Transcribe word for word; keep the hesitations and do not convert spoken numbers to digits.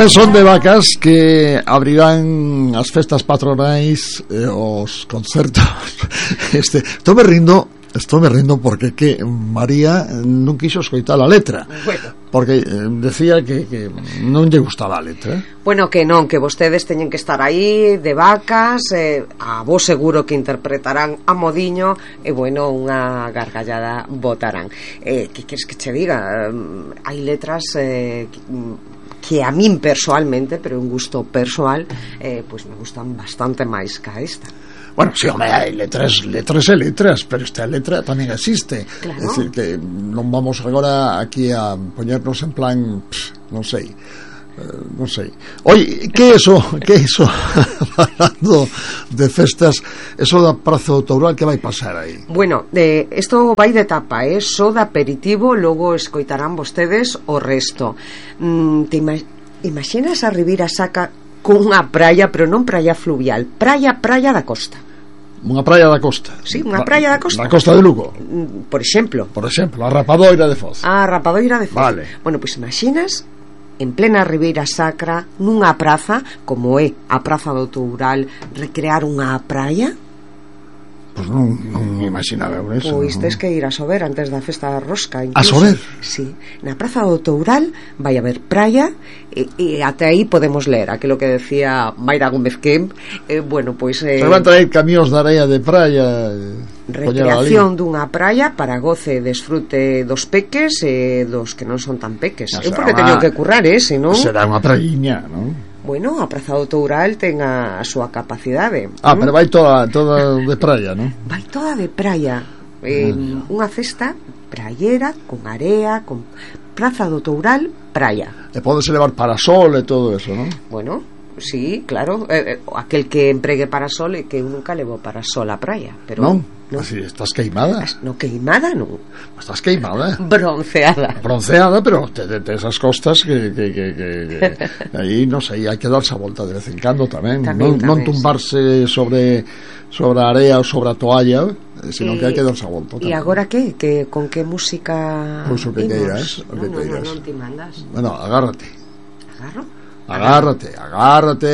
Tamén son de Vacas, que abrirán as festas patronais, eh, os concertos. Este, estou me rindo, estou me rindo porque que María non quiso escoitar a letra. Bueno. Porque eh, decía que, que non lle gustaba a letra. Bueno, que non, que vostedes teñen que estar aí de Vacas, eh, a vos seguro que interpretarán a modiño e, bueno, unha gargallada botarán. Eh, que queres que che diga? Eh, hai letras eh, que a min personalmente, pero un gusto persoal, eh, pues me gustan bastante máis que a esta. Bueno, sí, home, hai letras, letras e letras, pero esta letra tamén existe. Claro. É dicir, que non vamos agora aquí a poñernos en plan, pff, non sei, eh, non sei. Oi, que é iso, que é iso? Falando de festas, eso da Praza do Toural, que vai pasar aí? Bueno, de, esto vai de tapa, eh? Só de aperitivo, logo escoitarán vostedes o resto. Mm, te ima imaginas a Ribeira Sacra cunha praia, pero non praia fluvial, praia, praia da costa. Unha praia da costa. Sí, unha praia da costa. Da costa de Lugo. Por exemplo. Por exemplo, a Rapadoira de Foz. A Rapadoira de Foz. Vale. Bueno, pois pues imaginas en plena Ribeira Sacra, nunha praza como é a Praza do Toural, recrear unha praia? Pois non, non imaginaba eso. Pois tes que ir a Sober antes da festa da rosca. A Sober? Sí, na Praza do Toural vai haber praia e, e até aí podemos ler aquilo que decía Mayra Gómez Kemp. eh, Bueno, pois eh, se van traer camións de areia de praia, recreación dunha praia para goce e desfrute dos peques e dos que non son tan peques. Eu porque teño que currar, eh, senón será unha praíña, non? Bueno, a Praza do Toural ten a, a súa capacidade. Ah, ¿Mm? Pero vai toda, toda de praia, non? Vai toda de praia. eh, mm. Unha festa praiera, con area, con Praza do Toural, praia. E podese levar parasol e todo eso, non? Bueno, sí, claro, eh, eh, aquel que empregue parasol e que eu nunca levo parasol á praia, pero non, non. Así, estás queimada. No, queimada non. Estás queimada. Bronceada. Bronceada, pero te, te, te esas costas que, que, que, que, que aí, non sei, hai que darse a volta de vez en cando tamén, tamén, non, tamén non tumbarse sí. sobre sobre a area ou sobre a toalla, sino e, que hai que darse a volta tamén. E agora que? que con que música? Pois o que queiras, o que no, no, queiras. no, non te mandas. Bueno, agárrate. Agarro? Agárrate, agárrate.